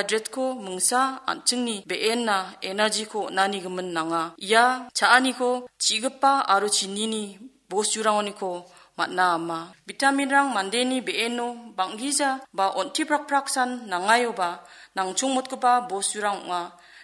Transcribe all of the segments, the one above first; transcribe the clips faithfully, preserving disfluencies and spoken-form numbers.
Carbohydrate-ko mingsa an·chingni be·enna energy-ko on·ani gimin nanga. Ia cha·aniko chigipa aro chinini bosturangoniko man·a ama. Vitaminrang mandeni be·eno bang·gija ba on·tiprakpraksan nangaioba nangchongmotgipa bosturang ong·a.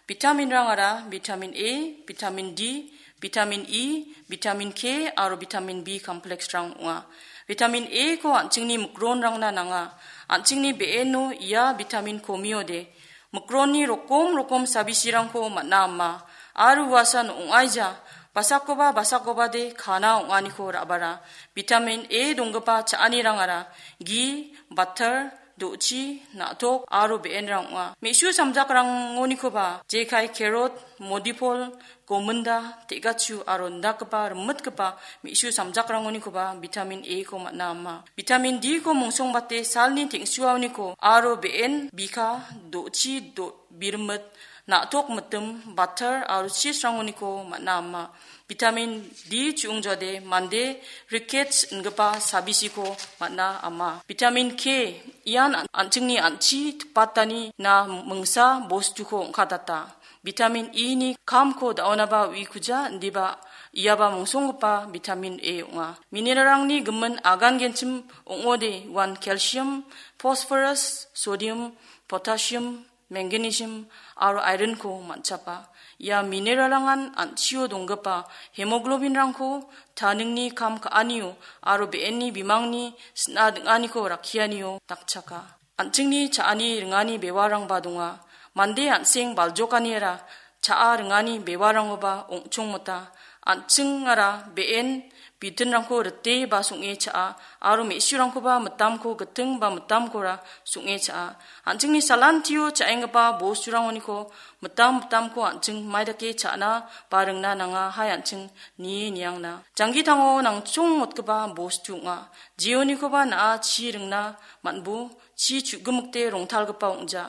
Vitaminrangara vitamin A, vitamin D, vitamin E, vitamin K aro vitamin B complexrang ong·a. Vitamin A-ko an·chingni mikronrangna nanga. An·chingni be·eno ia vitamin komiode mikronni rokom rokom sabisirangko man·a ama. Aro uasan ong·aija, basakoba basakobade kana ong·aniko ra·bara. Vitamin A donggipa cha·anirangara gi, batar, do·chi, na·tok aro be·enrang ong·a. Me·su samjakrangonikoba jekai kerot, modipol, gominda, te·gachu aro indakgipa rimitgipa me·su samjakrangonikoba vitamin A-ko man·a ama. Vitamin D-ko mongsongbate salni teng·suaoniko aro be·en, bika, do·chi, do-, birimit, na·tok mitim, batar aro cheese-rangoniko man·a ama. Vitamin D chu·ongjode mande rickets ingipa sabisiko man·a ama. Vitamin K ian an-, an·chingni an·chi tipatani na mingsa bostuko ong·katata. Vitamin E-ni kamko da·onaba uikuja, indiba iaba mongsonggipa vitamin A ong·a. Mineralrangni gimin agangenchim ong·ode uan calcium, phosphorus, sodium, potassium, magnesium aro iron-ko man·chapa. Ia mineralrangan an·chio donggipa hemoglobin-rangko taningni kam ka·anio aro be·enni bimangni sina ding·aniko rakkianio dakchaka. An·chingni cha·ani ringani bewarangba donga. Mande an·seng baljokaniara cha·a ringani bewarangoba ong·chongmota. An·chingara be·en bitinrangko rite ba song·e cha·a, aro me·surangkoba mitamko giting ba mitamkora song·e cha·a. An·chingni salantio cha·enggipa bosturangoniko mitam mitamko an·ching maidake cha·na ba ringna nanga, hai an·ching nie niangna. Janggitango nangchongmotgipa bostu ong·a. Jeonikoba na·a chi ringna man·bo, chi chu·gimikde rongtalgipa ong·ja.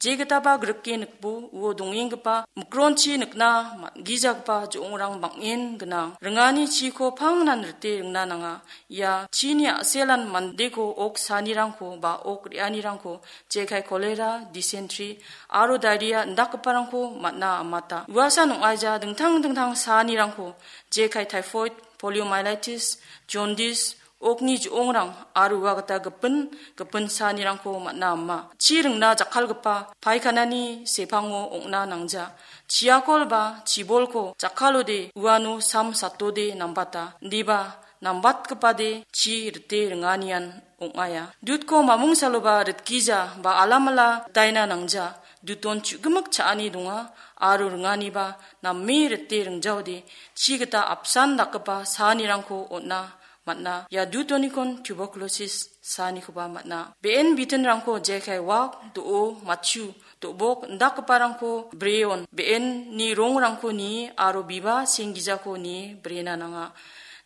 Jegitaba grike nikbo, uo dongenggipa mikronchi nikna man·gijagipa jo·ongrang bang·en gnang. Ringani chiko pangnan rite ringna nanga. Ia chini a·selan mandeko ok sanirangko ba ok re·anirangko jekai kolera, dysentery aro diarrhea indakgiparangko man·a amata. Uasan ong·aija dingtang dingtang sanirangko jekai typhoid, poliomyelitis, jaundice, okni jo·ongrang aro ua gita gipin, gipin sanirangko man·a ama. Chi ringna jakkalgipa paikanani sepango ong·na nangja. Chiakol ba chibolko jakkalode uano sam satode nambata. Indiba nambatgipade chi rite ringanian ong·aia. Dutko mamung saloba ritgija ba alamala ritaina nangja. Duton chu·gimik cha·ani donga aro ringaniba name rite ringjaode chi gita apsan dakgipa sanirangko on·a man·a. Ia dutonikon tuberculosis saanikoba man·a. Be·en bitinrangko jekai wak, do·o, matchu, do·bok indakgiparangko breon, be·enni rongrangko nie aro biba senggijako nie brena nanga.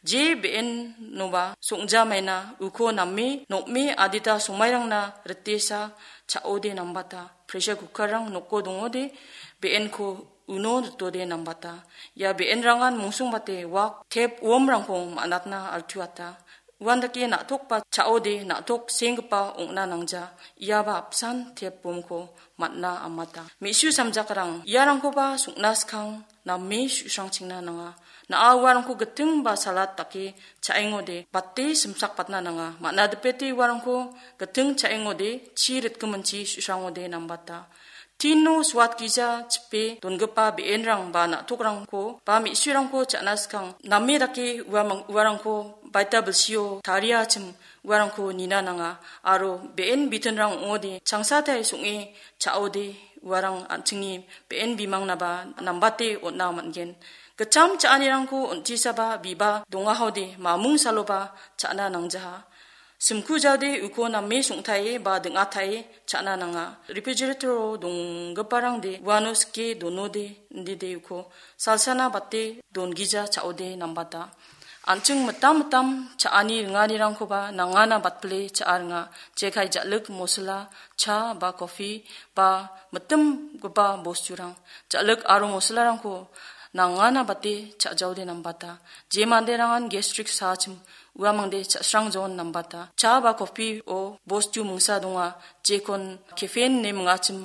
Je be·enoba song·jamaina uko name, nokme adita somairangna ritesa cha·ode nambata. Pressure cooker-rang noko dongode be·enko uno ritode nambata. Ia be·enrangan mongsongbate wak tep uomrangko man·atna altuata. Uandake na·tokba cha·ode na·tok senggipa ong·na nangja. Iaba apsan tep uomko man·a amata. Me·su samjakrang iarangkoba song·na skang name su·srangchingna nanga. Na·a uarangko giting ba salat dake cha·engode bate simsakpatna nanga. Man·a dipete uarangko giting cha·engode chi ritgiminchi su·srangode nambata. Tino suatgija chipe dongipa be·enrang ba na·tokrangko ba me·surangko cha·na skang name dake uamang-, uarangko baita bilsio tariachim uarangko nina nanga aro be·en bitinrang ong·ode changsatai song·e cha·ode uarang an·chingni be·en bimangnaba nambate on·a man·gen. Gitcham cha·anirangko on·tisaba biba dongahode mamung saloba cha·na nangjaha. Simku jaode uko name song·tae ba ding·atae cha·na nanga. Refrigerator-o donggiparangde uano sike donode indide uko salsana bate dongija cha·ode nambata. An·ching mitam mitam cha·ani ringanirangkoba nangana batpile cha·a ringa. Jekai ja·lik mosla, cha ba kopi ba mitimgipa bosturang, ja·lik aro moslarangko nangana bate cha·jaode nambata. Je manderangan gastric saachim uamangde cha·srangjaon nambata. Cha ba kopi-o bostu mingsa donga, jekon caffeine ine mingachim